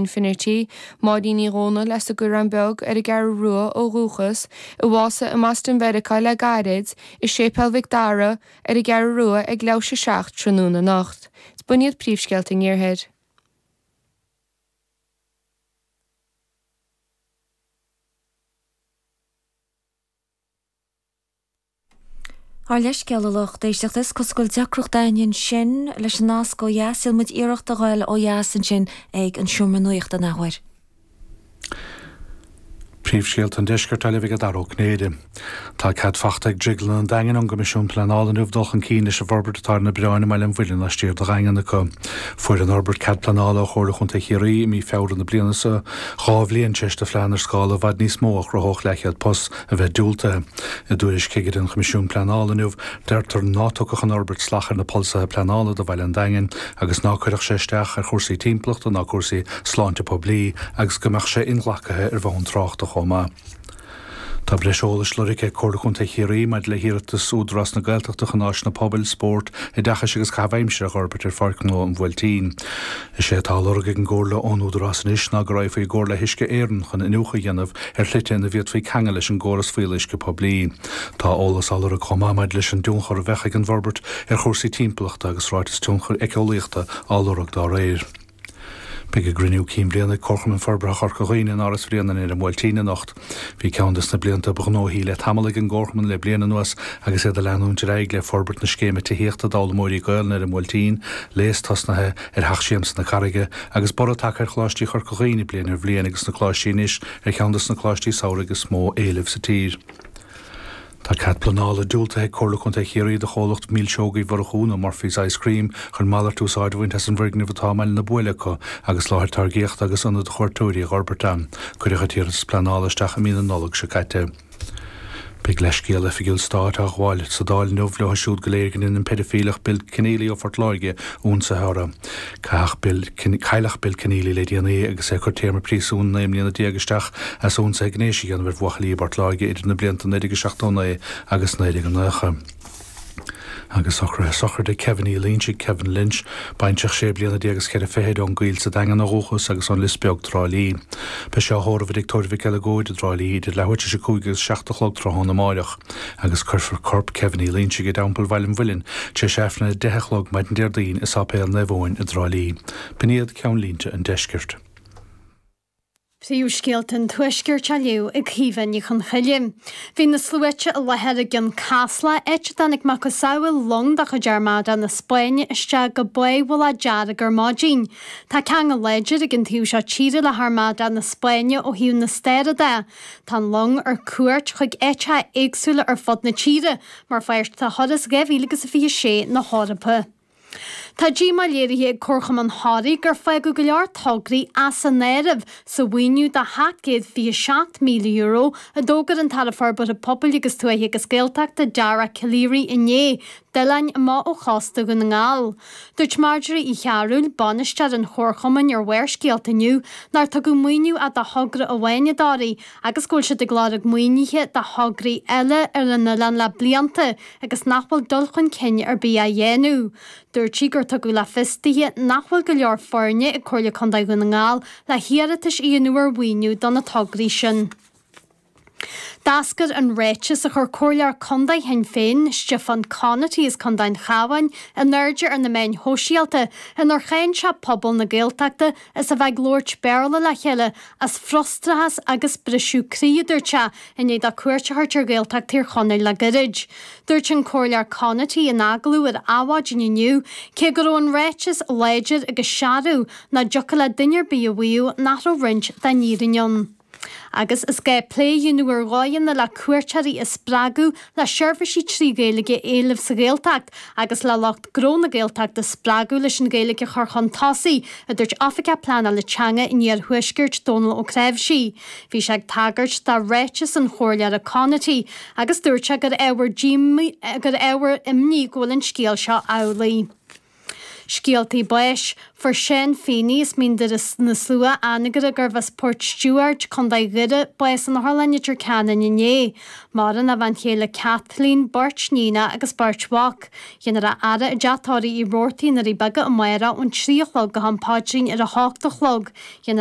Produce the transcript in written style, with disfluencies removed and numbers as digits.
Finnerty, Máirín Ní Dhomhnaill as an gCoireán Beag ar an gCeathrú Rua ó dhúchas, a bhásaigh i mBoston Mheiriceá le gairid, i Séipéal Mhic Dara ar an gCeathrú Rua ag leathuair tar éis a 7 tráthnóna anocht. B'in iad príomhscéalta an Iarthair. Ár leithscéal a lucht éisteachta, is cosúil go bhfuil deacracht againn ansin leis an nasc ó dheas. Déanfaidh muid iarracht a ghoil ó dheas ansin ag an seomra nuachta an athuair. Príomhscéalta an Deiscirt á léamh ag Dara Ó Cinnéide. Tá cead fachta ag Drioglann an Daingin ón gCoimisiún Pleanála inniu dul chun cinn leis an bhforbairt atá ar na Oibreáin i mBaile an Mhuilinn laistiar de Dhaingean acu. Fuair an fhorbairt cead pleanála ó Chomhairle Chontae Chiarraí i mí Feabhra na bliana seo, 2 bhliain tar éis do phlean ar scála i bhfad níos mó a chruthódh leathchéad post a bheith diúltaithe. I dtuairisc chigire an Choimisiúin Pleanála inniu, deirtear ná tiocfadh an fhorbairt salach ar na polasaithe pleanála do bhaile an Daingin agus ná cuirfeadh sé isteach ar chúrsaí timpeallachta ná cúrsaí sláinte poiblí agus go mbeadh sé inghlactha ar bhonn tráchta chomh maith. Tá breis eolais lorgtha ag Comhairle Contae Chiarraí maidir le hiarratas Údarás na Gaeltachta chun áiseanna pobail, spóirt, oideachais agus caitheamh aimsire a dh'fhorbairt ar Pháirc Ghnó an Bhuailtín. Is é atá á lorg ag an gComhairle ón Údarás anois ná go raghfaí i gcomhar le hUisce Éireann chun iniúchadh a dhéanamh ar shlite ina bhféadfaí ceangal leis an gcóras fuíolluisce poiblí. Tá eolas á lorg chomh maith maidir leis an dtionchar a bheadh ag an bhforbairt ar chúrsaí timpeallachta agus ráiteas tionchair éiceolaíochta á lorg dá réir. Beidh a gcruinniú cinn bliana ag Comharchumann Forbartha Chorca Dhuibhne in Áras Bhréanainn ar an mBuailtín anocht. Bhí ceann des na blianta ba ghnóthaí le tamall ag an gComharchumann le bliain anuas agus iad ag leanúint ar aghaidh le forbairt na scéime tithíochta d'fhoghlaimeoirí Gaelainne ar an mBuailtín, léas tosnaithe ar Theach Siamsa na Carraige agus borradh tagtha ar Choláistí Chorca Dhuibhne bliain ar bhliain agus na coláistí anois ar cheann des na coláistí samhraidh is mó éileamh sa tír. Tá cead pleanála diúltaithe ag Comhairle Contae Chiarraí do chomhlacht Milseogaí Mhurchú nó Murphy's Ice Cream chun malairt úsáid a bhaint as an bhfoirgneamh atá i mBaile na Buaile acu agus láthair táirgíochta agus ionad do chuairteoirí a dh'fhorbairt ann. Cuireadh an t-iarratas pleanála isteach i mí na Nollag seo caite. Beidh leithscéal oifigiúil stáit á ghabháil sa Dáil inniu leo siúd go léir go ndein an peidifíleach Bill Kenneally ó Phort Láirge ionsaithe orthu. Caitheadh Bill Cailleadh Bill Kenneally le déanaí agus é ag cur téarma príosúin 19 mbliana isteach as ionsaithe gnéis a dhéanamh ar bhuachaillí i bPort Láirge idir na blianta 1979 agus 1990. Agus socruithe sochraide Kevin Uí Loinsigh, Kevin Lynch, baintreach sé bliana déag is cheithre fichid ón gCoill sa Daingean ó dhúchas agus ón Lios Beag, Trá Lí. Beidh sé á thórramh i dTigh Tórraimh Mhic Eileagóid i dTrá Lí idir leathuair tar éis a 5 agus 7 a chlog tráthnóna amáireach agus cuirfear corp Kevin Uí Loinsigh i dTeampall Bhaile an Mhuilinn tar éis Aifreann a 10 a chlog maidin Déardaoin i Sáipéal Naomh Eoin i dTrá Lí. B'in iad ceannlínte an deiscirt. Príomhscéalta an Tuaiscirt á léamh ag Caoimhe Ní Chonchoille. Bhí na sluaite i láthair i gCionn Caslach, áit a dtáinig macasamhail long de chuid Armada na Spáinne isteach go bábhulach dearg ar maidin. Tá ceangal láidir ag an taobh seo tíre le hArmada na Spáinne ó thaobh na staire de. Tá an long ar cuairt chuig áiteacha éagsúla ar fud na tíre mar pháirt de thuras 2026 na hEorpa. Tá díomá léirithe ag Comharchumann Thoraí gur fágadh go leor tograí as an áireamh sa mhaoiniú de €727,000 a d'fhógair an tAire Forbartha Pobail agus Tuaithe agus Gaeltachta Dara Calleary inné d'oileáin amach ó chósta Dhún na nGall. Dúirt Marjorie Uí Chearúil, bainisteoir an Chomharchumainn ar Bharrscéalta inniu nár tugadh maoiniú ach do thogra amháin i dToraigh agus go bhfuil siad ag lorg maoinithe do thograí eile ar an oileán le blianta agus nach bhfuil dul chun cinn ar bith á dhéanamh. Dúirt sí gur tugadh le fios dithe nach bhfuil go leor foirne ag Comhairle Contae Dhún na nGall le hiarratais a dhéanamh ar mhaoiniú do na tograí sin. D'eascair an ráiteas a chuir Comhairleoir Contae Shinn Féin, Stiofán Conaty as Contae an Chabháin, in airde ar na meáin shóisialta inar cháin sé pobal na Gaeltachta as a bheith ag labhairt Béarla le chéile as frustrachas agus briseadh croí, a dúirt sé, i ndiaidh dó cuairt a thabhairt ar Ghaeltacht Thír Chonaill le gairid. Dúirt an Comhairleoir Conaty in agallamh ar Adhmhaidin inniu, cé go raibh an ráiteas láidir agus searbh, nach dtiocfadh le duine ar bith a mhaíomh nach raibh roinnt den fhírinne ann. Agus is gá plé a dhéanamh ar dhóigheanna le cuairteoirí a spreagadh le seirbhísí 3 Ghaeilge a éileamh sa Ghaeltacht agus le lucht gnó na Gaeltachta a spreagadh leis an Ghaeilge a chur chun tosaigh, a dúirt Oifigeach Pleanála Teanga an Iarthuaiscirt, Dónal Ó Cnáimhsí. Bhí sé ag tagairt do ráiteas an Chomhairleora Conaty agus dúirt sé gur ábhar gur ábhar imní go bhfuil an scéal seo amhlaidh. Scéaltaí báis. Fuair Seán Feeney as Mín Doire na Slua, Anagaire, gurbh as Port Stiúbhairt, Co. Dhoire, bás in Otharlann Leitir Ceanainn inné. Maireann a bhean chéile Kathleen, beirt níonacha agus beirt mhac. Dhéanfar a fhaire i dteach tórraimh Uí Robhartaigh i nDoirí Beaga amárach ón 3 a chlog go ham paidrín ar a hocht a chlog. Dhéanfar a.